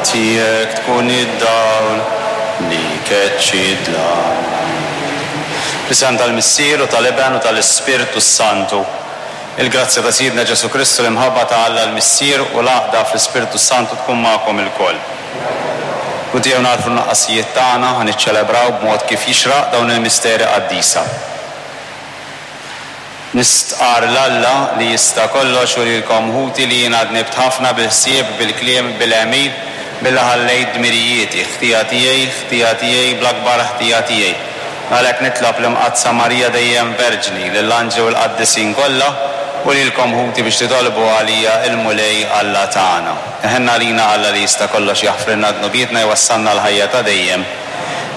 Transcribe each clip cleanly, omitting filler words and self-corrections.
Tiegħek tkun id-dawl li jkeċċi d-dlam. Fl-isem tal-Missier u tal-Iben u tal-Ispirtu s-Santu. Il-grazzja ta' Sidna Ġesù Kristu, l-imħabba ta' Alla l-Missier u l-għaqda fl-Ispirtu s-Santu tkun magħkom ilkoll. U tiegħu nagħrfu n-nuqqasijiet tagħna, ħa niċċelebraw b'mod kif jixraq dawn il-misteri qaddisa. Nistqarr 'l Alla li jista' kollox u lilkom ħuti li jiena dnibt ħafna bil-ħsieb, bil-kliem, bil-għemil, billi ħallejt dmirijieti, ħtija tiegħi, ħtija tiegħi, bl-akbar ħtija tiegħi. Għalhekk nitlob l-Imqaddsa Marija dejjem Verġni, lill-anġli u l-qaddisin kollha, u lilkom ħuti biex titolbu għalija il-Mulej Alla tagħna. Iħenn għalina Alla li jista' kollox jaħfrilna dnubietna jwassalna għall-ħajja ta' dejjem.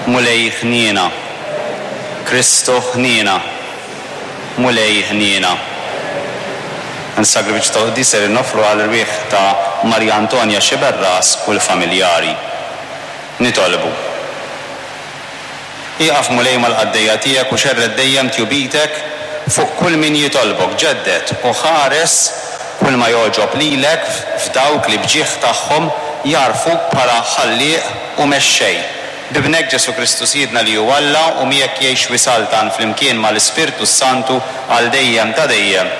Mulej ħniena. Kristu ħniena. Mulej ħniena. Dan is-sagrifiċċju tal-quddies ser noffru għall-erwieħ ta' Maria Antonia Sciberras u l-familjari. Nitolbu. Ieqaf Mulej mal-qaddejja tiegħek u xerred dejjem tjubitek fuq kull min jitolbok, ġedded u ħares kull ma jogħġob lilek f'dawk li b'ġieħ tagħhom jagħrfuk bħala Ħallieq u Mexxej. B'Ibnek Ġesù Kristu Sidna li hu Alla u miegħek jgħix u jsaltan flimkien ma' l-Ispirtu s-Santu għal dejjem ta' dejjem.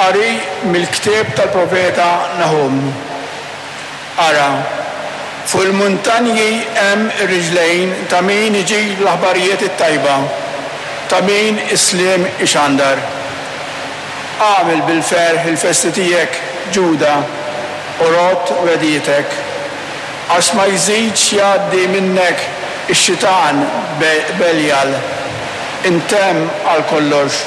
Qari mill-ktieb tal-profeta Nahum. Ara, fuq il-muntanji hemm ir-riġlejn ta' min iġib l-aħbarijiet it-tajba, ta' min is-sliem ixandar. Agħmel bil-ferħ il-festi tiegħek, Ġuda, u rodd wegħdietek. Għax ma jżidx jgħaddi minnek ix-xitan Beljal, intemm għal kollox.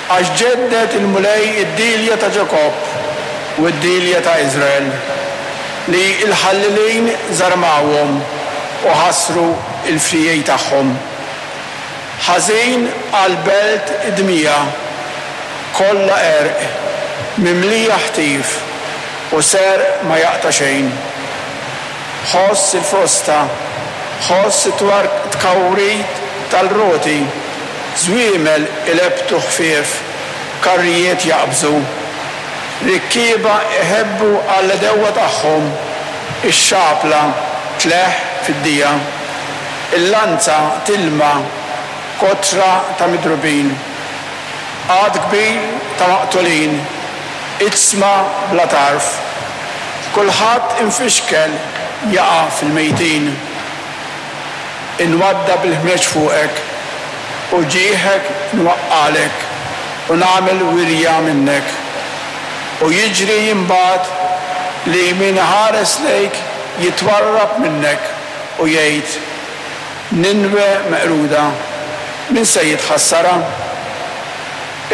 Għax ġedded il-Mulej id-dielja ta' Ġakobb u d-dielja ta' Iżrael, li l-ħallelin żarmawhom u ħassru l-friegħi tagħhom. Ħażin għall-belt id-dmija, kollha għerq, mimlija ħtif, u serq ma jaqta' xejn. Ħoss il-frosta, ħoss it-tkawwrit tal-roti, żwiemel ilebbtu ħfief, karrijiet jaqbżu. Rikkieba iħebbu għall-għedewwa tagħhom, ix-xapla tleħħ fid-dija. Il-lanza tilma kotra ta' midrubin. Għadd kbir ta' maqtulin, iġsma bla tarf. Kulħadd imfixkel jaqa' fil-mejtin. Inwaddab il-ħmieġ fuqek, u ġieħek nwaqqagħlek, u nagħmel wirja minnek. U jiġri imbagħad li min iħares lejk jitwarrab minnek u jgħid, Ninwe meqruda, min se jitħassarha?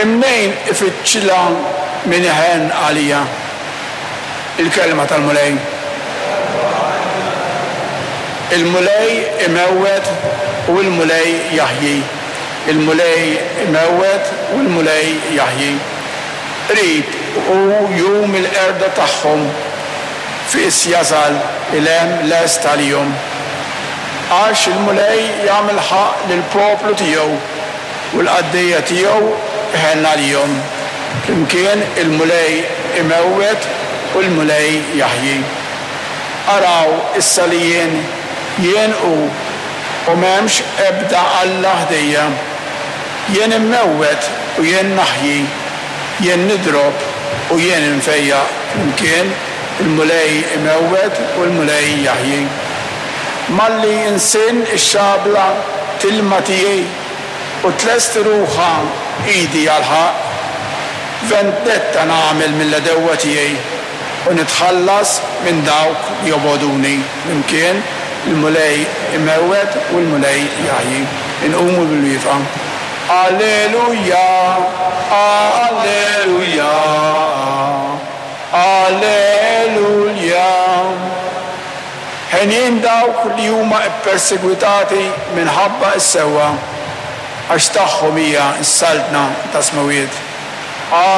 Imnejn ifittxilha min iħenn għaliha? Il-Kelma tal-Mulej. Il-Mulej imewwet u l-Mulej jaħji, il-Mulej imewwet u l-Mulej jaħji. Qrib hu jum il-qerda tagħhom, fis jasal il-hemm lest għalihom. Għax il-Mulej jagħmel ħaqq lill-poplu tiegħu, u l-qaddejja tiegħu iħenn għalihom. Flimkien il-Mulej imewwet u l-Mulej jaħji. Araw issa li jien, jien hu, u m'hemmx ebda alla ħdejja. Jien immewwet u jien naħji, jien nidrob u jien infejjaq, flimkien il-Mulej imewwet u l-Mulej jaħji. Malli nsinn ix-xabla tilma tiegħi u tlesti ruħha idi għall-ħaqq, vendetta nagħmel mill-għedewwa tiegħi u nitħallas minn dawk li jobogħduni, flimkien il-Mulej imewwet u l-Mulej jaħji. Inqumu bil-wieqfa. Alleluja, Alleluja, Alleluja. Henjin dawk li huma ppersegwitati minħabba s-sewwa, għax tagħhom hija s-saltna tas-smewwiet.